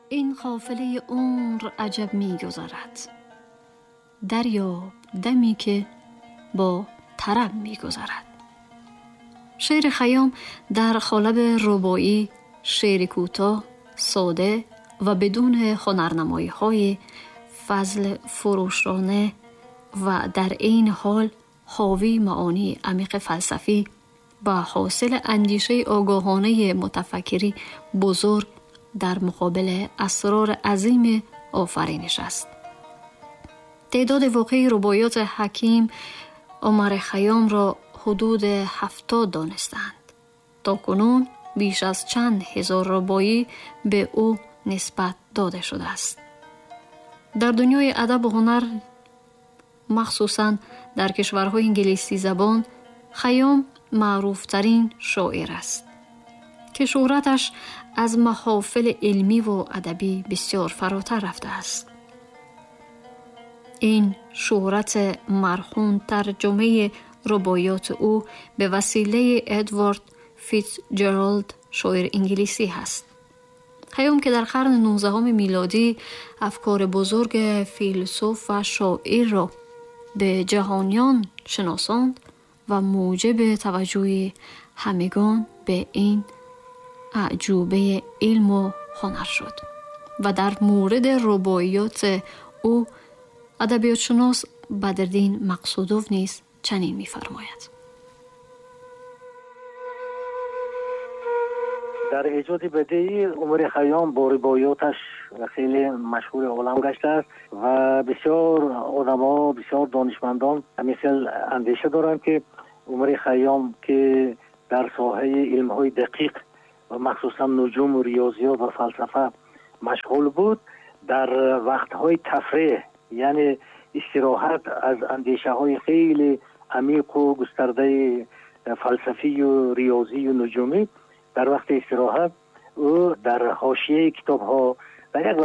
این قافله عمر عجب می‌گذرد، دریاب دمی که با طرب می‌گذرد. شعر خیام در قالب رباعی، شعر کوتاه، ساده و بدون هنرنمایی‌های فضل فروشانه و در عین حال حاوی معانی عمیق فلسفی و حاصل اندیشه آگاهانه متفکری بزرگ در مقابل اسرار عظیم آفرینش است. تعداد واقعی رباعیات حکیم عمر خیام را حدود 70 دانستند. تا کنون بیش از چند هزار رباعی به او نسبت داده شده است. در دنیای ادب و هنر، مخصوصاً در کشورهای انگلیسی زبان، خیام معروفترین شاعر است که شهرتش از محافل علمی و ادبی بسیار فراتر رفته است. این شهرت مرهون ترجمه رباعیات او به وسیله ادوارد فیتزجرالد، شاعر انگلیسی هست. خیام که در قرن 19 میلادی افکار بزرگ فیلسوف و شاعر را به جهانیان شناساند و موجب توجه همگان به این اعجوبه علم و هنر شد و در مورد رباعیات او ادبیات شناس بدرالدین مقصودوف نیز چنین می‌فرماید: در ایجاد بدیعی عمر خیام با رباعیاتش خیلی مشهور عالم گشته است و بسیار آدم‌ها، بسیار دانشمندان همین اندیشه دارند که عمر خیام که در ساحه علم‌های دقیق و مخصوصا نجوم و ریاضیات و فلسفه مشغول بود، در وقت‌های تفریح یعنی استراحت از اندیشه‌های خیلی عمیق و گسترده فلسفی و ریاضی و نجومی، در وقت استراحت او در حاشیه کتاب‌ها، در یک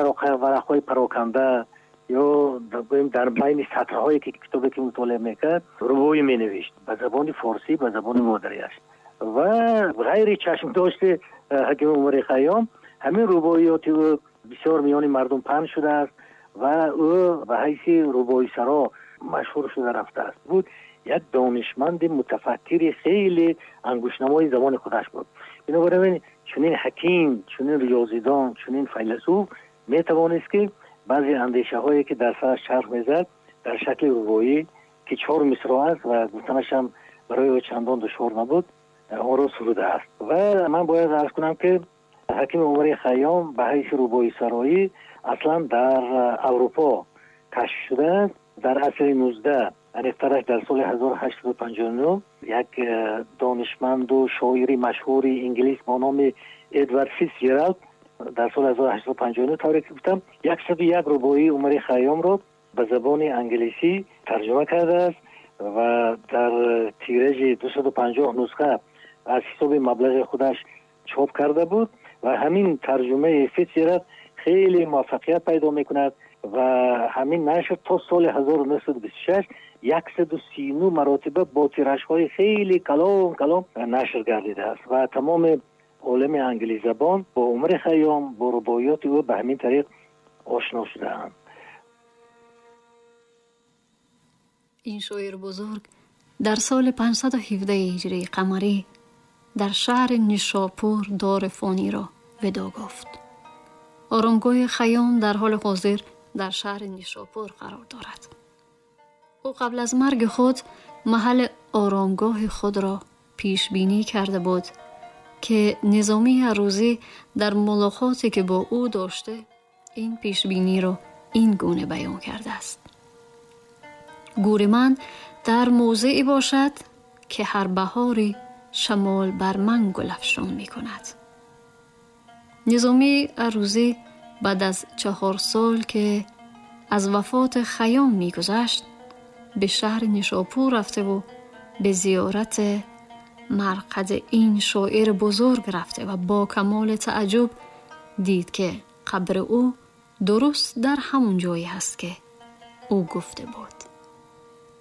ورق‌های پراکنده یا در بین سطرهایی که کتابی که مطالعه میکرد رباعی مینوشت به زبان فارسی، به زبان مادریش. و غیر چشم داشته حکیم عمر خیام همین رباعیات او بسیار میان مردم پهن شده است و او به حیث رباعی سرا مشهور شده رفته است. بود یک دانشمند متفکر خیلی انگشت‌نمای زبان خودش بود. بنابراین چنین حکیم، چنین ریاضیدان، چنین فیلسوف میتوانست که بعضی اندیشه هایی که در سرش چرخ میزد در شکل رباعی که 4 مصرع است و گفتنش هم برای او چندان دشوار نبود، آن را سروده است. و من باید عرض کنم که حکیم عمر خیام به حیث رباعی سرایی اصلا در اروپا کشف شده است. در عصر 19، دقیق‌ترش در سال 1859، یک دانشمند و شاعر مشهور انگلیس با نام ادوارد فیتزجرالد در سال 1859 طوری که گفتم 101 رباعی عمر خیام را به زبان انگلیسی ترجمه کرده است و در تیراژ 250 نسخه از حساب مبلغ خودش چاپ کرده بود و همین ترجمه فیتزجرالد خیلی موفقیت پیدا میکند و همین نشر تا سال 1926 139 مراتبه با تیراژهای خیلی کلان کلان نشر گردیده است و تمام عالم انگلیسی زبان با عمر خیام، با رباعیات او به همین طریق آشنا شده‌اند. این شاعر بزرگ در سال 517 هجری قمری در شهر نیشاپور دار فانی را وداع گفت. آرامگاه خیام در حال حاضر در شهر نیشاپور قرار دارد. او قبل از مرگ خود محل آرامگاه خود را پیش بینی کرده بود که نظامی عروضی در ملاقاتی که با او داشته این پیش بینی را این گونه بیان کرده است: گور من در موضعی باشد که هر بهاری شمال بر من گل افشان می کند. نظامی عروضی بعد از 4 سال که از وفات خیام می گذشت به شهر نیشاپور رفته و به زیارت مرقد این شاعر بزرگ رفته و با کمال تعجب دید که قبر او درست در همون جایی هست که او گفته بود.